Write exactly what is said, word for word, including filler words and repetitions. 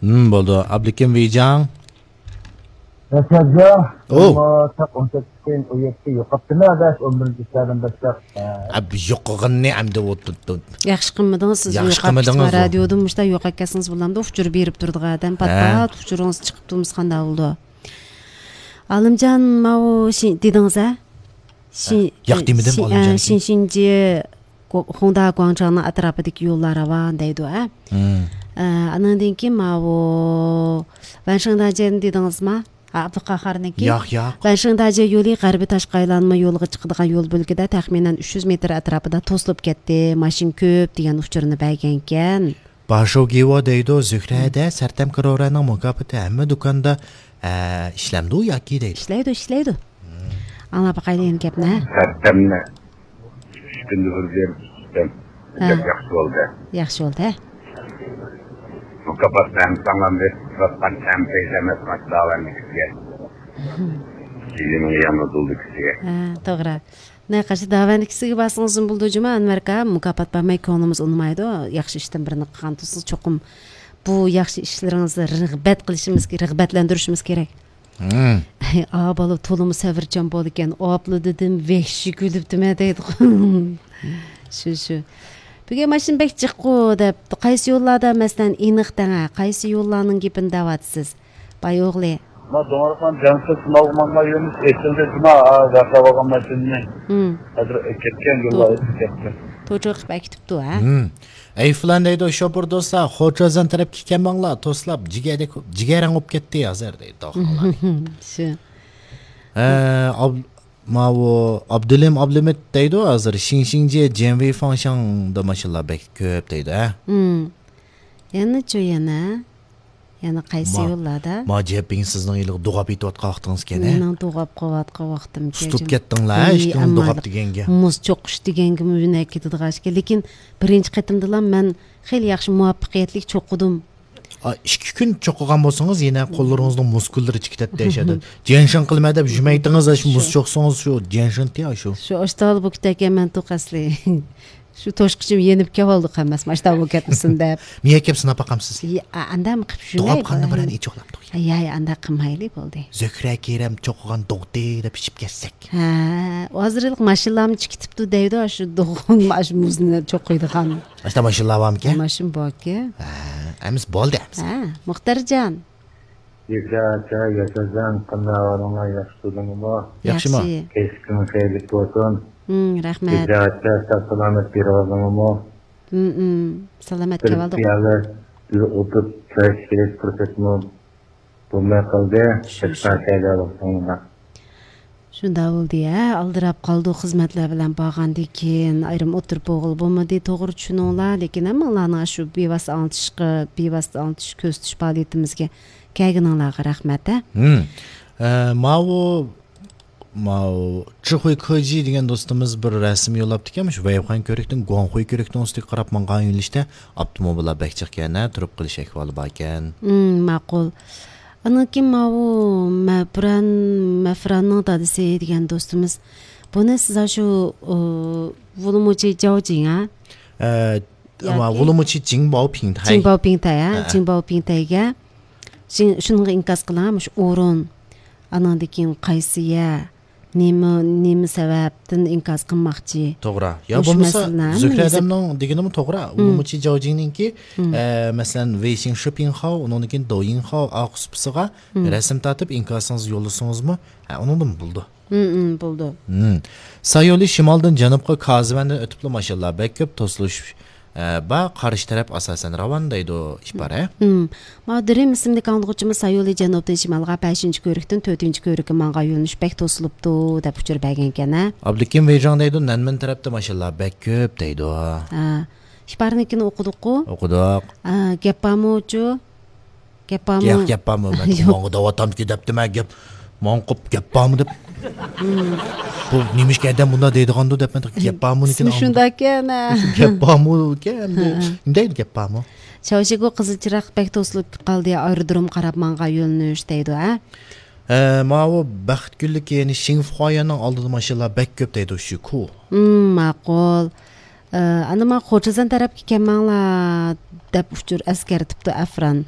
ھىم، بولدى. ئابلىكىم ۋىجاڭ. ياشاجا. ئو. ئەمما تاق ئون سەككىز كېيىن ئون يەتتە يوقاپتىمەن، ئاداش، ئون بىرىنچى ئىشلاردىن باشلاپ. ئە، بۇ يوقىغىنىنى ئەمدى ئۇ تۇت، تۇت. ياخشى قىلمىدىڭىز، سىز ياخشى يوقاپ قىلمىدىڭىز كېتىپ ئۇ. رادىيودىن مۇشتا يوقاپ كەتسىڭىز بولامدۇ؟ ئۇچۇر بېرىپ تۇرىدىغان ئادەم ھە. پات-پات ئۇچۇرىڭىز چىقىپ تۇرمىسا قانداق بولىدۇ؟ ئالىمجان، ماۋۇ شى-، دېدىڭىز ھە؟ شى-، ھە، ياق دېمىدىم، شى-، ئالىمجان ئە، شىنشىنجى گو-، خۇڭدا گۇاڭچاڭنىڭ ئەتراپىدىكى يوللار راۋان دەيدۇ، ھە؟ مم. ئە، ئانىڭدىن كېيىن ماۋۇ ۋەنشىڭداجيەنى دېدىڭىزما؟ ھە، ئابدۇقاھارنىڭكى. ياق، ياق. ۋەنشىڭداجيە يولى غەربىي تاشقى ئايلانما يولىغا چىقىدىغان يول بۆلىكىدە تەخمىنەن ئۈچ يۈز مېتىر ئەتراپىدا توسۇلۇپ كەتتى، ماشىنا كۆپ دېگەن ئۇچۇرنى بەرگەنكەن. باشوگىۋا دەيدۇ، زۆھرەدە سەرتەم كرورەنىڭ مۇكاپاتى ھەممە دۇكاندا، ئە، ئىشلەمدۇ ياكى دەيدۇ. ئىشلەيدۇ، ئىشلەيدۇ. مم. ئاڭلاپ باقايلى يەنە گەپنى. سەرتەمنى ئۈچ كۈندە بىر بېرىپ ئىشلەم. ھە. گەپ ياخشى بولدى. ياخشى بولدى، ھە. مۇكاپات ھەم ساڭلام بېرىپ تۇرۇۋاتقان ھەم پەيزى ئەمەس ماش داۋەننىڭ كىشىگە. مم. كېيىنىڭ يەنە دۇلدى كىشىگە. ھە، توغرا. نەقەشتە داۋەننىڭ كىشىگە بارسىڭىزمۇ بولىدۇ جۇما، ئەنۋەر ئاكا، مۇكاپات بەرمەي كۆڭلىمىز ئۇنىمايدۇ. ياخشى ئىشتىن بىرنى قىلغان تۇرسىڭىز، چوقۇم بۇ ياخشى ئىشلىرىڭىزنى رىغبەت قىلىشىمىز، رىغبەتلەندۈرۈشىمىز كېرەك. مم. ئا، بالا تولىمۇ سەۋرچان بولىدىكەن. ئاپلا دېدىم، ۋەھشىي كۈلۈپتىمەن دەيدىغۇ. شۇ، شۇ. بۈگۈن ماشىنا بەك جىققۇ دەپ، قايسى يوللاردا، مەسىلەن، ئېنىق دەڭە، قايسى يوللارنىڭ گېپىنى دەۋاتىسىز؟ باي ئوغلى. ما دوڭرىقان جانسىز سىناۋغا ماڭغان يۆنىلىش ئېچىلدى جۇما، ۋەقە بولغان ماشىنىنى. مم. ھازىر كەتكەن يوللار توغرا. ئېچىلىپ كەتتى. توچۇق قىلىپ ئەكېتىپتۇ، ھە؟ مم. ئەي فىلان دەيدۇ، شوپۇر دوستلار، خوچازان تەرەپكە كەلمەڭلار، توسلاپ، جىگەردەك، جىگەرەڭ بولۇپ كەتتى ھازىر دەيدۇ. شۇ. ھە، ئاب-، ماۋۇ ئابدۇلىم ئابلىمىت دەيدۇ ھازىر، شىڭشىڭجيې جيەنۋېي فاڭشاڭدا ماشىنىلار بەك كۆپ دەيدۇ، ھە؟ مم. يەنىچۇ يەنە؟ يەنە قايسى ما-، يوللاردا؟ ما جيەپىڭ سىزنىڭ ھېلىغا دوغاپ يېتىۋاتقان ۋاقتىڭىزكەن، ھە؟ مېنىڭ دوغاپ قېلىۋاتقان ۋاقتىمكەن. سۇتۇپ كەتتىڭلار، ھە، ھېي، ھېچكىم ئەمما دوغاپ دېگەنگە. مۇز چوقۇش دېگەنگىمۇ يۆنەپ كېتىدىغان ئىكەن. لېكىن بىرىنچى قېتىمدىلا مەن خېلى ياخشى مۇۋەپپەقىيەتلىك چوقۇدۇم. ئا، ئىككى كۈن چوقۇغان بولسىڭىز، يەنە قوللىرىڭىزنىڭ مۇسكۇللىرى چىقىپ كېتەتتى ئەشەدە. جيەنشېن قىلمەن دەپ يۈرمەيتىڭىز، شۇ مۇز شۇ. چوقسىڭىز، شۇ جيەنشېن تيا شۇ. شۇ ئاشتاغىلا بۇ كېتەركەن، مەن توق ئەسلى. شۇ توشقۇچۇم يېنىپ كەۋالدى قەمەس، ماشتا بولۇپ كەتمىسۇن دەپ. مېڭە كەپ سىناپ باقامسىز؟ يا، ئا-، ئانداقمۇ قىلىپ دوغاپ يۈرمەي. قاننى بىرەنى ئىچىۋالامدۇق يا. يا، يا، ئانداق قىلمايلى، بولدى. زۆھرە كېرەم چوقۇغان دوغدى دەپ ئىچىپ كەتسەك. ھە، ھازىرلىق ماشىنىلارمۇ چىقىتىپتۇ دەيدۇ، شۇ دوغۇن، شۇ مۇزنى چوقۇيدىغان. ئاشتا ماشىنىلار بارمىكەن؟ ماشىنا باركەن. ھە، ئەمىسە بولدى ئەمىسە. ھە، مۇختەرجان. ياشا ئاچا، ياشاجان، قانداق ئەھۋالىڭلار؟ ياخشى تۇردۇڭلارمۇ؟ ياخشىمۇ؟ ياخشى. كەچلىكىڭ خەيرلىك بولسۇن. ھىم، رەھمەت. ياشا ئاچا، ساق سالامەت كېلىۋالدىڭلارمۇ؟ ھىم، ھىم. سالامەت بىر كېلىۋالدۇق. پىيالە بىر ئولتۇرۇپ چاي ئىچىش كېرەك پۇرسەتمۇ بولماي قالدى. شۇ، شۇ. شۇنداق بولدى، ھە، ئالدىراپ قالدۇق خىزمەتلەر بىلەن بارغاندىكىن، ئايرىم ئولتۇرۇپ بولغىلى بولمىدى، توغرا چۈشىنىڭلار، لېكىن ھەممىڭلارنىڭ شۇ بىۋاسىتە ئاڭلىتىشقا، بىۋاسىتە ئاڭلىتىش كۆرسىتىش پائالىيىتىمىزگە كەلگىنىڭلارغا رەھمەت، ھە. ھىم. ئە، ماۋۇ، ماۋۇ چىخۇي كېجى دېگەن دوستىمىز بىر رەسىم يوللاپتىكەن، مۇشۇ ۋەيخۇەن كۆۋرۈكتىن گۇاڭخۇي كۆۋرۈكنىڭ ئۈستىگە قاراپ ماڭغان يۆنىلىشتە ئاپتوموبىللار بەك جىقكەن، ھە، تۇرۇپ قېلىش ئەھۋالى باركەن. ھىم، ماقۇل. ئاندىن كېيىن ماۋۇ مەپران، مەفراننىڭ دادىسى دېگەن دوستىمىز. بۇنى سىز شۇ، ئۇ، ۋۇلۇمۇچى جاۋجىڭ، ھە؟ ئە، ياكى ۋۇلۇمۇچى جىڭباۋپىڭتەي. جىڭباۋپىڭتەي، ھە؟ ھە. جىڭباۋپىڭتەيگە. شۇ-، شۇنىڭغا ئىنكاس قىلىڭ، مۇشۇ ئورۇن. ئانىڭدىن كېيىن قايسى يەر، نېمە، نېمە سەۋەبتىن ئىنكاس قىلماقچى؟ توغرا. يا مۇشۇ بولمىسا، مەسىلىنى ھەممىسى زۆھرەدەمنىڭ دېگىنىمۇ توغرا. ھىم. ۋۇلۇمۇچى جاۋجىڭنىڭكى، ھىم. ئە، مەسىلەن، ۋېيشىڭ شىپىڭخاۋ، ئۇنىڭدىن كېيىن دويىڭخاۋ ئارقا سۇپىسىغا ھىم. رەسىم تارتىپ، ئىنكاسىڭىزنى يوللىسىڭىزمۇ، ھە، ئۇنىڭدىن بولىدۇ. ھىم، ھىم، بولىدۇ. ھىم. سايولى شىمالدىن جەنۇبقا كازىۋەندىن ئۆتۈپلا ماشىنىلار بەك كۆپ، توسۇلۇش، ئە، بار، قارشى تەرەپ ئاساسەن راۋان دەيدۇ، ئىپارە. ھىم. ماۋۇ دىرىم ئىسىملىك ئاڭلىغۇچىمىز سايولى جەنۇبتىن شىمالغا بەشىنچى كۆۋرۈكتىن تۆتىنچى كۆۋرۈككە ماڭغان يۆنىلىش بەك توسۇلۇپتۇ، دەپ ئۇچۇر بەرگەنكەن، ھە؟ ئابلىكىم ۋېيجاڭ دەيدۇ، نەنمېن تەرەپتە ماشىنىلار بەك كۆپ دەيدۇ. ھە. ئىپارىنىڭكىنى ئوقۇدۇققۇ؟ ئوقۇدۇق. ھە، گەپ بارمۇچۇ؟ گەپ بارمۇ؟ ياق، گەپ بارمۇ؟ مەن ياق. ماڭا دەۋاتامدىكى دەپتىمەن، گەپ، ماڭا قوپ گەپ بارمۇ دەپ. ھىم. بۇ نېمىشقا ئادەم بۇنداق دەيدىغاندۇ دەپ مەن گەپ بارمۇ ئىسمى لېكىن ئاڭلىدىم. شۇنداككەن، ھە. گەپ بارمۇ ئىكەن، ھە. نېمە دەيدۇ گەپ بارمۇ؟ چاۋشيەنگو قىزىل چىراغ بەك توسۇلۇپ قالدى، ئايرودروم قاراپ ماڭغان يۆنىلىش دەيدۇ، ھە؟ ھە، ماۋۇ بەختكۈنلۈك يەنى شىڭفۇخۇايەننىڭ ئالدىدا ماشىنىلار بەك كۆپ دەيدۇ، شۇ كۇ. ھىم، ماقۇل. ئە، ئانا، مانا خوجازان تەرەپكە كەلمەڭلار، دەپ ئۇچۇر ئەسكەرتىپتۇ ئەفران.